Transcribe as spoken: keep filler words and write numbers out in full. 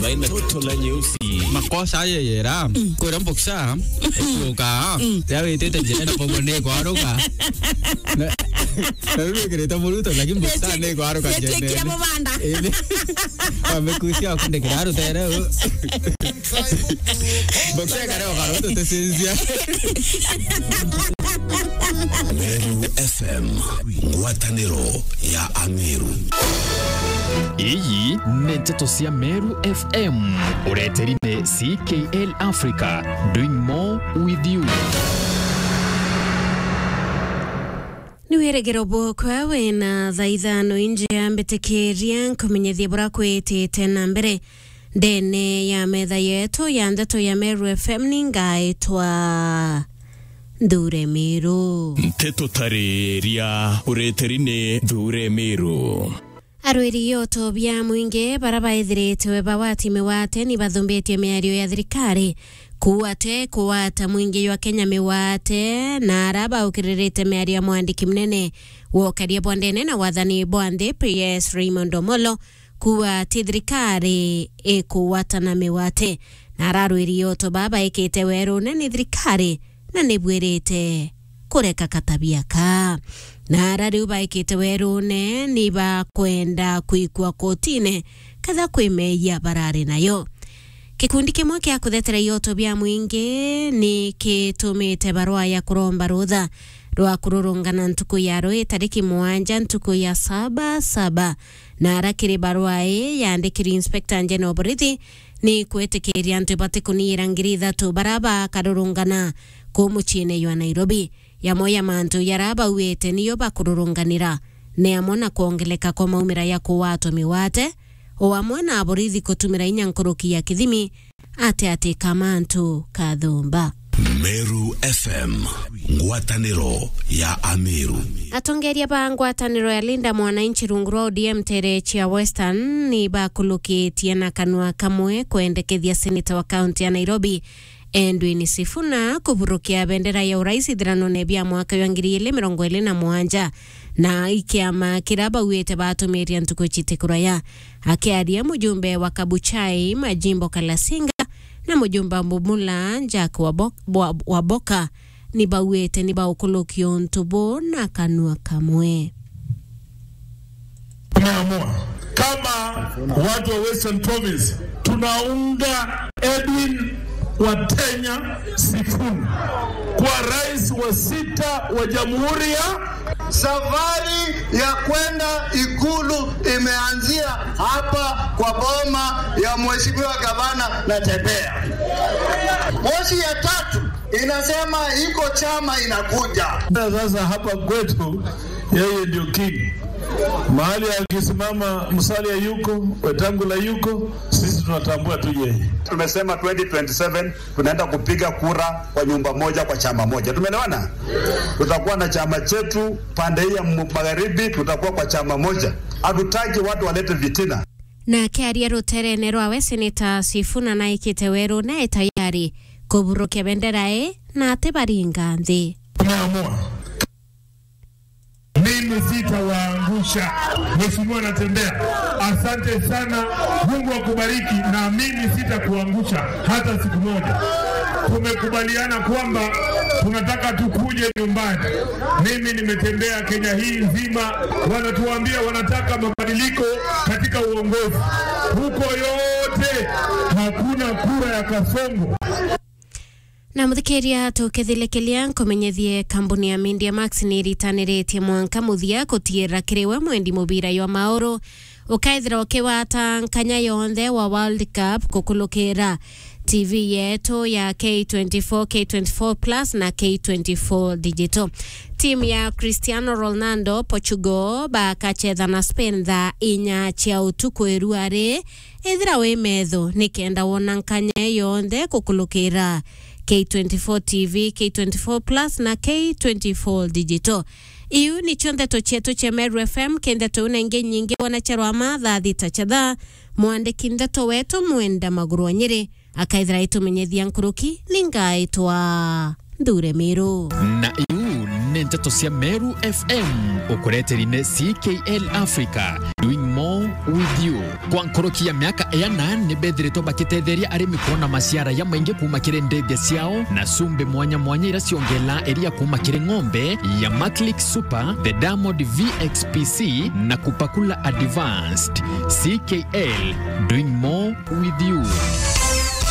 Baina toto la nyeusi. Makosa aye yera. Kwira mboksa. Kuka. Yawitite njira na bobo ni kwaruka. Na, na riu wikirite muruto, lakini mboksa ni kwaruka njene. Amekusia akundikira rutere. Mboksa kare okaruto tesinzia. Meru F M, ngwataniro ya Ameru. Iyi ni nteto cia Meru F M, ureteri ni C K L Africa, doing more with you. Ni wirigiro bwokwa wina thaa ithano inje, ambitikiria nkumenyethie bura kwitite na mbere ndene ya metha yetu ya ndeto ya Meru F M. Ni ngaitwa Nthure Miru. Nteto tariria ureteri ni Nthure Miru. Arwiri yoto bia mwingi bara baithiritwe bagwati miwate ni bathumbitie miario ya thirikari kuuga ati kuwata mwingi jwa Kenya miwate, na ara baukiririte miario ya mwandiki munene wa ukaria bwa ndene na wathani bwa nthi, P S Raymond Omolo, kuuga ati thirikari ikuwatana miwate, na ara arwiri yoto baa baikite werune ni thirikari na nibwirite kureka katabia kaa. Na ara riu baikite werune ni bakwenda kwikua kotine ketha kwi meeyia barari nayo. Gikundi kimwe kia kuthetera ioto bia mwingi ni kitumite barua ya kuromba rutha rwa kururungana ntuku ya rui tariki mugwanja ntuku ya saba saba, na ara kiri barua ii yandikirwe Inspector General Borithi ni kwitikiria antu bati kuniira ngiri ithatu bara bakarurungana kuu muciine jwa Nairobi. Yamwe ya mantu jaria bauite niyo bakururunganira ni amwe na kwongeleka kwa maumira ya kuwatwa miwate, o amwe na aborithi kutumira inya nkuruki ya kithimi ati ati ka mantu kathumba. Meru F M, ngwataniro ya Ameru. Atongeria ba ngwataniro ya Linda Mwananchi rungu rwa O D M tere cia Western ni bakulukitie na kanua kamwe kwendekethia seneta wa kaunti ya Nairobi Edwin Sifuna kuburukia bendera ya urais ithiranone bia mwaka jwa ngiri ili mirongo ili na mugwanja, na ikiama kiria bauite batumiria ntuku citi kuraya. Akiaria mujumbe wa Kabuchai Majimbo Kalasinga na mujumbe wa Bumula Jack Wabo-, Wa-, Waboka ni bauite ni baukulukia untu buu na kanua kamwe. Tumeamua kama watu wa Western Province, tunaunga Edwin Watenya Sifuna kwa rais wa sita wa Jamhuri ya. Safari ya kwenda Ikulu imeanzia hapa kwa boma ya Mheshimiwa Gavana Natembeya. Moshi ya tatu inasema iko chama inakuja. Sasa hapa kwetu, yeye ndio king. Mahali akisimama Musalia yuko, Wetangula yuko, sisi tunatambua tu yeye. Tumesema twenty twenty-seven tunaenda kupiga kura kwa nyumba moja, kwa chama moja. Tumeelewana? Tutakuwa na chama chetu pande hii ya mu-, magharibi, tutakuwa kwa chama moja. Hatutaki watu walete fitina. Na akiaria ruterene rwawe, Seneta Sifuna naikite werune e tayari kuburukia bendera ii na ati baringa nthi. Tumeamua. Mimi sitawaangusha. Mheshimiwa Natembeya, asante sana. Mungu akubariki, na mimi sitakuangusha hata siku moja. Tumekubaliana kwamba tunataka tukuje nyumbani. Mimi nimetembea Kenya hii nzima, wanatuambia wanataka mabadiliko katika uongozi. Huko yote hakuna kura ya kasongo. Na muthikiria, tukithilikilia nkumenyethie, kambuni ya Media Max ni iritaniritie mwanka muthia gutiira kiri we mwendi mubira jwa mauru ukaithira ukiwata nkanya yonthe wa World Cup kukulukira T V yetu ya K twenty-four, K twenty-four Plus na K twenty-four Digital. Timu ya Cristiano Ronaldo, Portugal, bakachetha na Spain thaa inya cia utuku iruari. Ethira wi metho ni kenda wona nkanya yonthe kukulukira K twenty-four T V, K twenty-four Plus na K twenty-four Digital. Iu nicio ndeto cietu cia Meru F M. Ki ndeto iu na ingi nyingi wona cia rwama thaa thita cia thaa, mwandiki ndeto wetu Mwenda Maguru wa Nyeri akaithira aitumenyethia nkuruki, ni ngaitwa Nthure Miru. Na iu ni ndeto cia Meru F M, ukureteri ni C K L Africa, doing more With You. Kwa nkuruki ya miaka iana, ni bethiritwe bakitetheria arimi kwona maciara jamaingi kuuma kiri ndithia ciao na cumbi mwanya mwanya iria ciongela iria kuuma kiri ng'ombe ya Maclick Super, the Diamond V X P C na Kupakula Advanced. C K L, doing more with you.